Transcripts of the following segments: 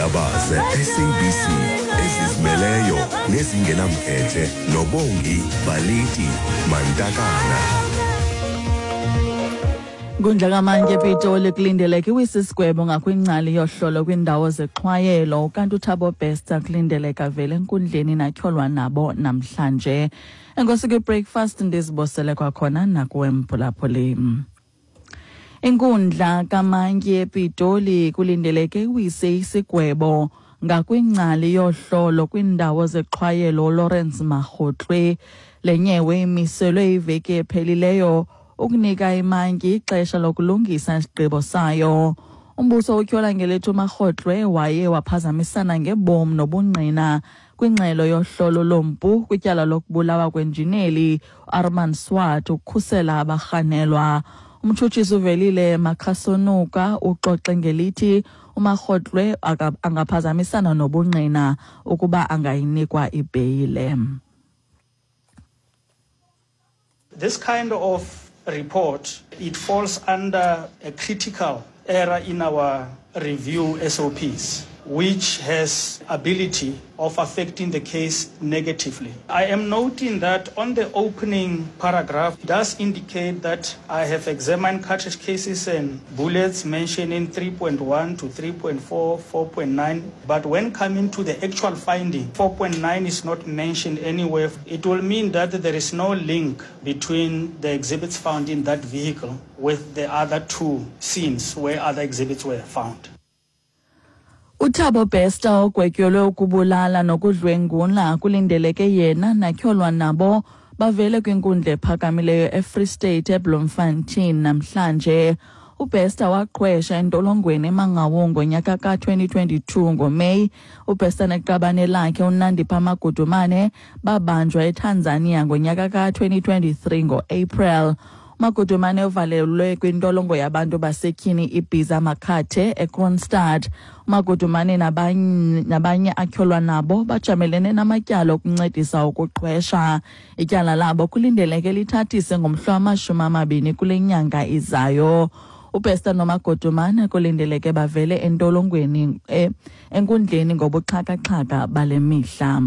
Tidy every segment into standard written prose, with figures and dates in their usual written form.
Iindaba ze-SABC ezizimeleyo nezingenamkhethe noBongi Baliti Mantakana. Inkundla kamantyi ePitoli kulindeleke iwise isigwebo ngakwingcali yohlolo kwindawo zexhwayelo, kanti uThabo Bester kulindeleka vele enkundleni natyholwa nabo namhlanje. Enkosi kwi-breakfast, ndizibosele kwakhona nakuwe mphulaphuli. Inkundla kamantyi ePitoli kulindeleke iwise isigwebo ngakwingcali yohlolo kwindawo zexhwayelo Lawrence Makgotlwe. Le nyewe imiselwe iveki ephelileyo ukunika imantyi ixesha lokulungisa isigqibo sayo. Umbuso utyhola ngelithi uMakgotlwe waye waphazamisana ngebomi nobungqina kwingxelo yohlolo lompu kwityala lokubulawa kwenjineli Armand Swart ukukhusela abarhanelwa. Umtshutshisi uVelile Makhasonuka uxoxe ngelithi uMakgotlwe angaphazamisana nobungqina ukuba angayinikwa ibheyile. This kind of report, it falls under a critical error in our review SOPs, which has ability of affecting the case negatively. I am noting that on the opening paragraph, it does indicate that I have examined cartridge cases and bullets mentioning 3.1 to 3.4, 4.9, but when coming to the actual finding, 4.9 is not mentioned anywhere. It will mean that there is no link between the exhibits found in that vehicle with the other two scenes where other exhibits were found. UThabo Bester ogwetyelwe ukubulala nokudlwengula kulindeleke yena natyholwa nabo bavele kwinkundla ephakamileyo eFree State eBloemfontein namhlanje. UBester waqhwesha entolongweni eMangaung ngonyaka ka-2022 ngoMeyi. UBester neqabane lakhe uNandipha Magudumane babanjwa eTanzania ngonyaka ka-2023 ngoApril. Magudumane uvalelwe kwintolongo yabantu basetyhini iBhiza Makhathe eKroonstad. Magudumane nabanye atyholwa nabo bajamelene namatyala okuncedisa ukuqhwesha. Ityala labo kulindeleke lithathise ngomhla wama-20 kule nyanga izayo. UBester noMagudumane kulindeleke bavele entolongweni enkundleni ngobuxhakaxhaka bale mihla.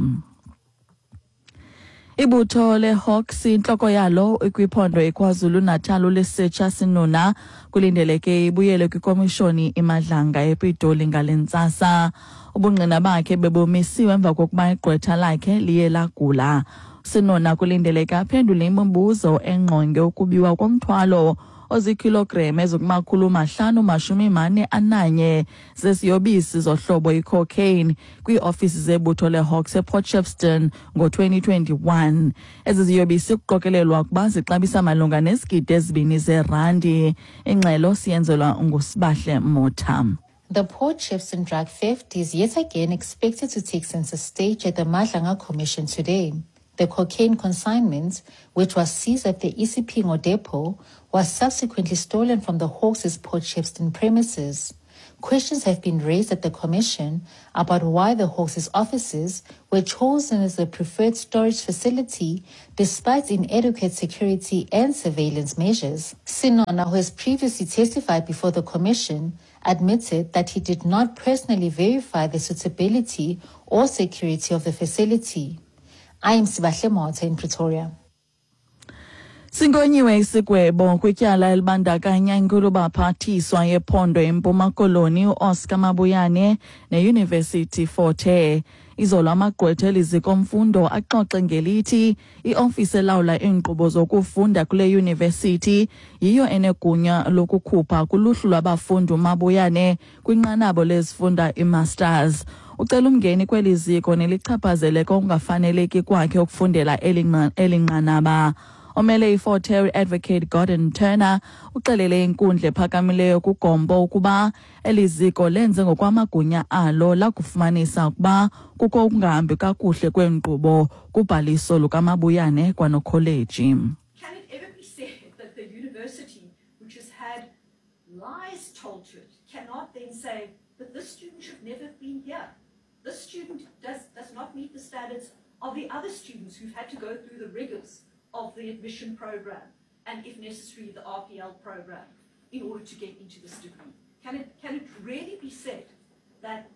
Ibutho leHawks, intloko yalo ikwiphondo iKwaZulu-Natal uLesetsha Senona, kulindeleke ibuyele kwikomishoni iMadlanga ePitoli ngale ntsasa. Ubungqina bakhe bebumisiwe emva kokuba igqwetha lakhe liye lagula. Senona kulindeleke aphendule imibuzo engqonge ukubiwa komthwalo oziikhilogram ezikumakhulu 541 zesiyobisi zohlobo icocaine kwiiofisi zebutho leHawks ePort Shepstone ngo-2021. Ezi ziyobisi kuqokelelwa ukuba zixabisa malunga nezigidi 2 zeerandi. Ingxelo siyenzelwa nguSibahle Motha. The Port Shepstone drug theft is yet again expected to take center stage at the Madlanga Commission today. The cocaine consignment, which was seized at the Isipingo depot, was subsequently stolen from the Hawks' Port Shepstone premises. Questions have been raised at the commission about why the Hawks' offices were chosen as the preferred storage facility despite inadequate security and surveillance measures. Senona, who has previously testified before the commission, admitted that he did not personally verify the suitability or security of the facility. I am Sibahle Motha in Pretoria. Sinkonyiwe isigwebo kwityala elibandakanya inkulubaphathiswa yephondo eMpuma Koloni uOscar Mabuyane neYunivesithi Fort Hare. Izolo amagqwetha elizikomfundo axoxe ngelithi iofisi elawula iinkqubo zokufunda kule yunivesithi yiyo enegunya lokukhupha kuluhlu lwabafundi uMabuyane kwinqanaba lezifunda i-masters. Ucela umngeni kweli ziko nelichaphazeleka okungafaneleki kwakhe ukufundela eli nqanaba. Omele iFort Hare, Advocate Gordon Turner, uxelele inkundla ephakamileyo kuGompo ukuba eli ziko lenze ngokwamagunya alo lakufumanisa ukuba kukho ukungahambi kakuhle kweenkqubo kubhaliso lukaMabuyane kwanokholeji. Can it ever be said that the university, which has had lies told to it, cannot then say that this student should never have been here? This student does not meet the standards of the other students who've had to go through the rigors of the admission program and, if necessary, the RPL program in order to get into this degree. Can it really be said that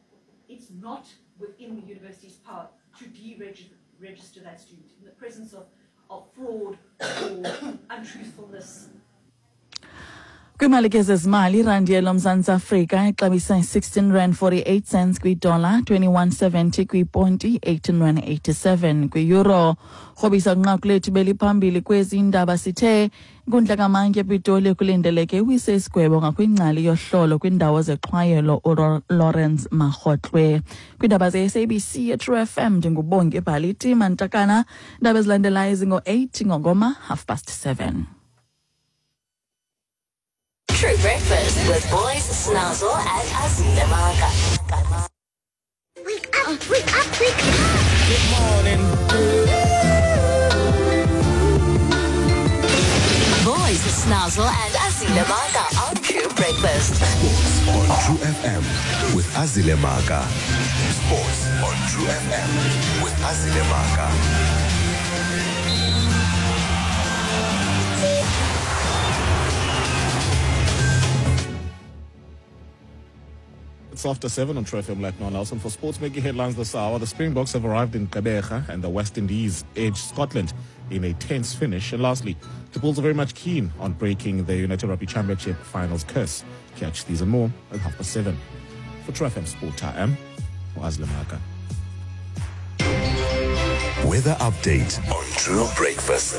it not within the university's power to deregister that student in the presence of, of fraud or untruthfulness. Kwiimali ke zezimali, irandi yelomzantsi Afrika ixabisa i-16 rand 48 cents kwidola, 21.70 kwiponti, 18 rand 87 kwiyuro. Rhobisa kwinqaku lethu beliphambili kwezi indaba sithe inkundla kamantyi ePitoli kulindeleke iwise isigwebo ngakwingcali yohlolo kwindawo zexhwayelo uLawrence Makgotlwe. Kwiindaba ze-SABC eTrue FM ndinguBongi Bhaliti Mantakana. Iindaba ezilandelayo zingo-8 ngongoma 7:30. True Breakfast with Boys, Snozzle, and Azile Maka. Wake up, wake up, wake up. Good morning. Boys, Snozzle, and Azile Maka on True Breakfast. Sports on True FM with Azile Maka. Sports on True FM with Azile Maka. It's after 7 on True FM Latno Nelson. For sports making headlines this hour, the Springboks have arrived in Gqeberha and the West Indies edged Scotland in a tense finish. And lastly, the Bulls are very much keen on breaking the United Rugby Championship finals curse. Catch these and more at 7:30. For True FM Sport, I am Wazle Maka. Weather update on True Breakfast.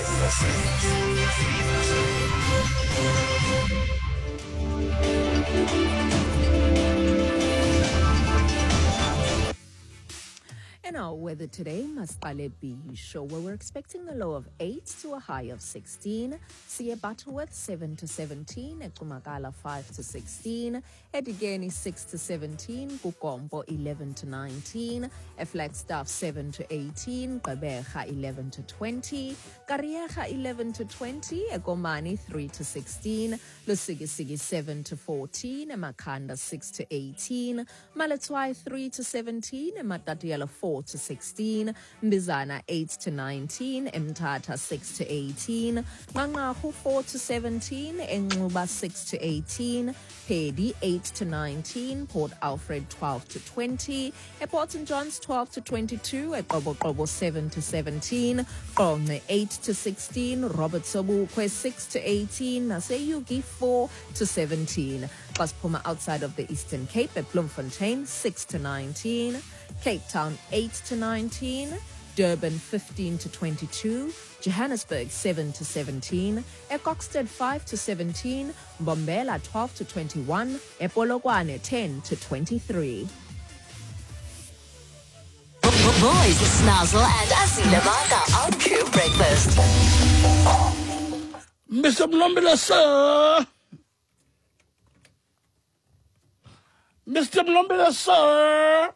In our weather today, Masqale Bisho, where we're expecting a low of 8 to a high of 16. Siye Butterworth 7 to 17, Ecumakala 5 to 16, Edigeni 6 to 17, Kukombo 11 to 19, Flagstaff 7 to 18, Gqeberha 11 to 20, Kariega 11 to 20, Egomani 3 to 16, Lusikisiki 7 to 14, Makanda 6 to 18, Maletswai 3 to 17, Matatiele 4 to 16, Mbizana 8 to 19, Mthatha 6 to 18, Nqanqarhu 4 to 17, Enxuba 6 to 18, Peddie 8 to 19, Port Alfred 12 to 20, Port St John's 12 to 22, Qoboqobo 7 to 17, Qonce 8 to 16, Robert Sobukwe 6 to 18, naseUgie 4 to 17. Xa siphuma outside of the Eastern Cape at Bloemfontein 6 to 19, Cape Town 8 to 19, Durban 15 to 22, Johannesburg 7 to 17, eKokstad 5 to 17, Mbombela 12 to 21, ePolokwane 10 to 23. Boys, Snozzle, and Azile Maka on True Breakfast. Mr. Mlombela, sir. Mr. Mlombela, sir.